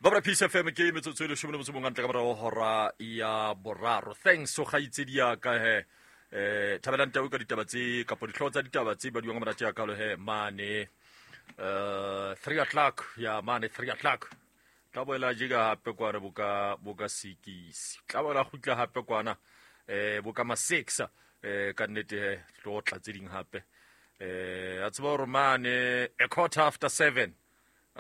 Babra Peace FM ke metsotso e leshome le motso mongwe ntle ka morago hora ya boraro. Thanks o gaitsedi ya ka he. Thabelang tau ka ditaba tse kapo dihlooho tsa ditaba tse badiwang ka monate ya kalo he mane 3 o'clock ya mane 3 o'clock. Tla boela jeka hape kwana boka boka sikisi. Tla boela kgutla hape kwana boka ma 6 ka nnete he tlo tla tse ding hape. A tseba hore mane a quarter after 7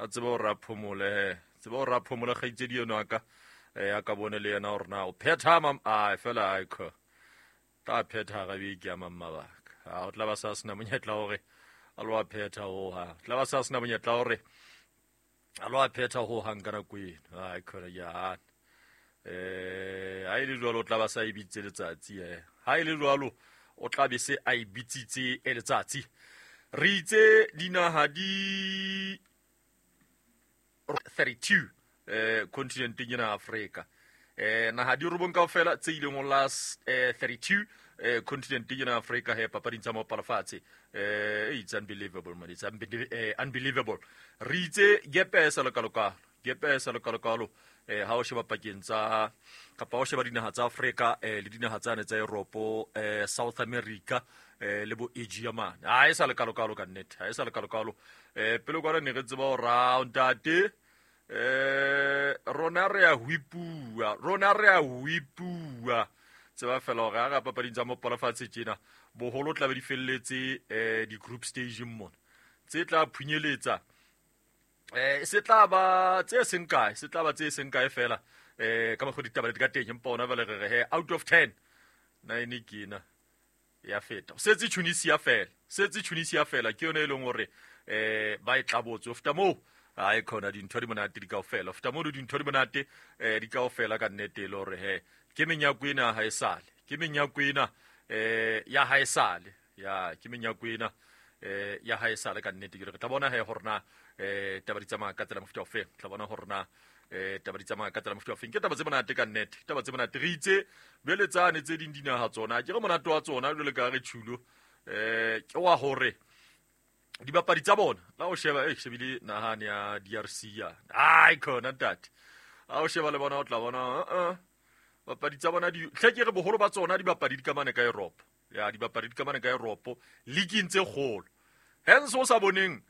a tseba hore a phomole he tseba hore a phomole kgaitsedi eno a ka a ka bone le yena hore na o phetha ma a fela a kho tla phetha ga beke ya mang mabaka a o tla ba sa sena monyetla hore a lo a phetha ho ha tla ba sa sena monyetla hore a lo a phetha ho hang ka nako eno a khona ya ha e le jwalo o tla ba sa e bitse letsatsi ha e le jwalo o tla be se a e bitsitse e letsatsi re itse dinaha di 32 continenteng ena ya Afrika naha di robong kaofela tse ileng ho last 32 continenteng ena ya Afrika he papading tsa maopalafatshe it's unbelievable man, it's unbelievable. Re itse gepe e sa lokalokalo, gepe e sa lokalokalo ha o sheba pakeng tsa kapa o sheba dinaha tsa Afrika le dinaha tsane tsa Europe, South America le bo Asia mane ha e sa lekalokalo ka nnete, ha e sa lekalokalo. Pele kwana ne re tseba hore a ntate rona re a hwipua, rona re a hwipua. Tseba fela hore ha re papading tsa mopalafatshe tjena boholo tla be di felletse di-group stage mona tse tla phunyeletsa se tla ba tse seng kae, se tla ba tse seng kae fela ka mokgwa ditaba di ka teng, empa ona jwale re re he out of 10 9 ke ena ya feta. Setse Tunisia fela, setse Tunisia fela ke yone e leng hore ba e tlabotse. Ho feta moo ha e khona dintho di monate di kaofela, ho feta moo dintho di monate di kaofela ka nnete e le hore he ke menyako ena ha e sale, ke menyako ena ya ha e sale, ya ke menyako ena ya ha e sale ka nnete. Ke re tla bona he hore na taba di tsamaya ka tsela mofuta ofe, tla bona hore na taba di tsamaya ka tsela mofuta ofeng. Ke taba tse monate ka nnete, ke taba tse monate. Re itse jwale tsane tse ding dinaha tsona ke re monate wa tsona jwale ka re tjhulo ke wa hore dibapadi tsa bona la o sheba shebile nahane ya DRC ya ai khona ntate a o sheba le bona o tla bona bapadi tsa bona di hle ke re boholo ba tsona dibapadi di kamane ka Europe ya dibapadi di kamane ka Europe league tse kgolo hence o sa boneng